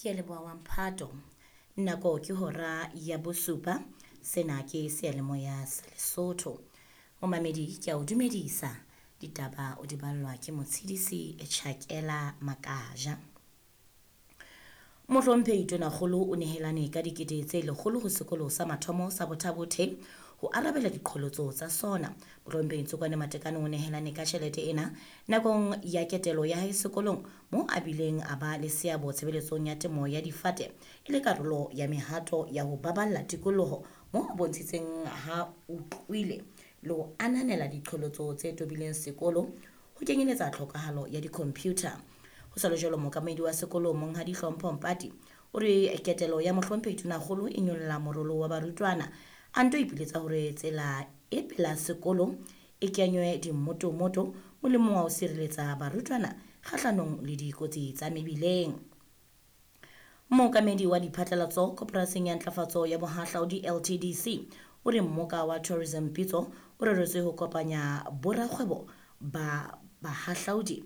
Ke a leboha wa mphato. Nako ke hora ya bosupa. Sena ke seyalemoya sa Lesotho. Momamedi ke a o dumedisa. Ditaba o di ballwa ke Motshidisi Chakela Makaja. Mohlomphehi Tonakgolo o nehelane ka dikete tse lekgolo ho sekolo sa mathomo sa Bothabothe ho arabela diqholotso tsa sona. Mohlomphehi Ntsokwane Matekane o nehelane ka tjhelete ena nakong ya ketelo ya hae sekolong moo a bileng a ba le seabo tshebeletsong ya temo ya difate e le karolo ya mehato ya ho baballa tikoloho moo a bontshitseng ha utlwile le ho ananela diqholotso tse tobileng sekolo ho kenyeletsa tlhokahalo ya di-computer. Ho sa le jwalo, mookamedi wa sekolo Monghadi Hlompho Mpati o re ketelo ya mohlomphehi Tonakgolo e nyolla morolo wa barutwana. A nto ipiletsa hore tsela e pela sekolo e kenywe dimmotomoto molemong wa ho sireletsa barutwana kgahlanong le dikotsi tsa mebileng. Mookamedi wa diphatlalatso Koporasing ya Ntlafatso ya Bohahlaudi LTDC o re mmoka wa Tourism Pitso o reretswe ho kopanya borakgwebo ba bahahlaudi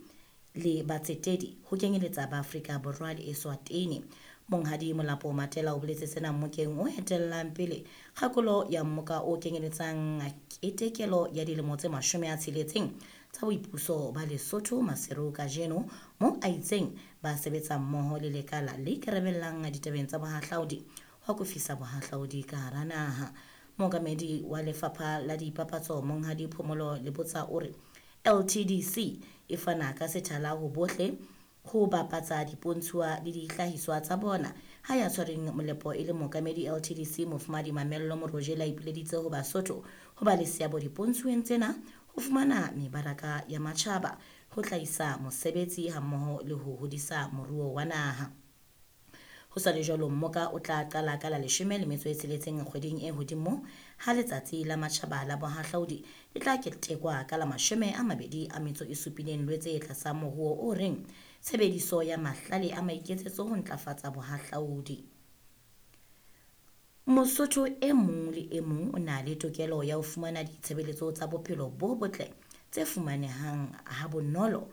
le batsetedi ho kenyeletsa ba Afrika Borwa le Eswatini. Monghadi Molapo Matela o boletse sena mmokeng o etellang pele kgakolo ya mmoka o kenyeletsang ketekelo ya dilemo tse 60 tsa boipuso ba Lesotho Maseru kajeno, moo a itseng ba sebetsa mmoho le lekala le ikarabellang ditabeng tsa bohahlaudi ho akofisa bohahlaudi ka hara naha. Mookamedi wa lefapha la dipapatso Monghadi Phomolo Lebotsa o re LTDC e fana ka sethala ho bohle ho bapatsa dipontshuwa le dihlahiswa tsa bona. Ha ya tshwereng molepo e le mookamedi LTDC Mofumadi Mamello Morojele a ipileditse ho Basotho ho ba le seabo dipontshuweng tsena ho fumana mebaraka ya matjhaba, ho hlahisa mosebetsi hammoho le ho hodisa moruo wa naha. Ho sa le jwalo, mmoka o tla qala ka la 16 kgweding e hodimo ha letsatsi la matjhaba la bohahlaudi le tla ketekwa ka la 27 Lwetse tlasa moruo o reng tshebediso ya mahlale a maiketsetso ho ntlafatsa bohahlaudi. Mosotho e mong le e mong o na le tokelo ya ho fumana ditshebeletso tsa bophelo bo botle tse fumanehang ha bonolo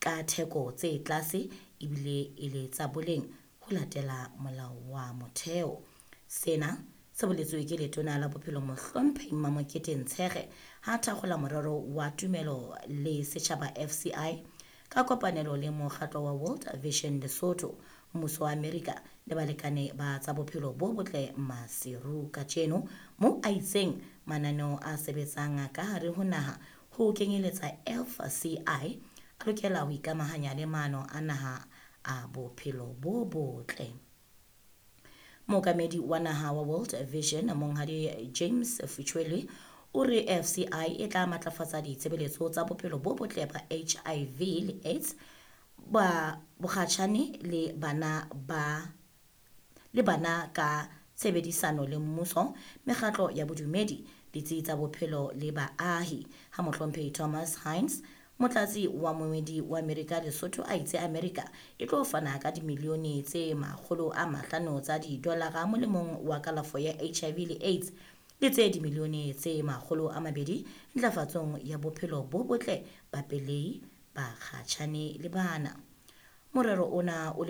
ka theko tse tlase ebile e le tsa boleng ho latela molao wa motheo. Sena se boletswe ke letona la bophelo Mohlomphehi Mamokete Ntshege ha thakgola morero wa tumelo le setjhaba FCI ka kopanelo le mokgatlo wa World Vision Lesotho, mmuso wa Amerika le balekane ba tsa bophelo bo botle Maseru kajeno, moo a itseng mananeo a sebetsang ka hare ho naha ho kenyeletsa FCI a lokela ho ikamahanya le maano a naha a bophelo bo botle. Mookamedi wa naha wa World Vision Monghadi James Fuchwele o re FCI e tla matlafatsa ditshebeletso tsa bophelo bo botle ba HIV le AIDS ba bokgatjhane le bana ba le bana ka tshebedisano le mmuso, mekgatlo ya bodumedi, ditsi tsa bophelo le baahi. Ha mohlomphehi Thomas Hines, motlatsi wa moemedi wa Amerika Lesotho, a itse Amerika e tlo fana ka dimilione tse 500 tsa didolara molemong wa kalafo ya HIV le AIDS le tse dimilione tse 200 ntlafatsong ya bophelo bo botle ba pelehi, bakgatjhane le bana. Morero ona o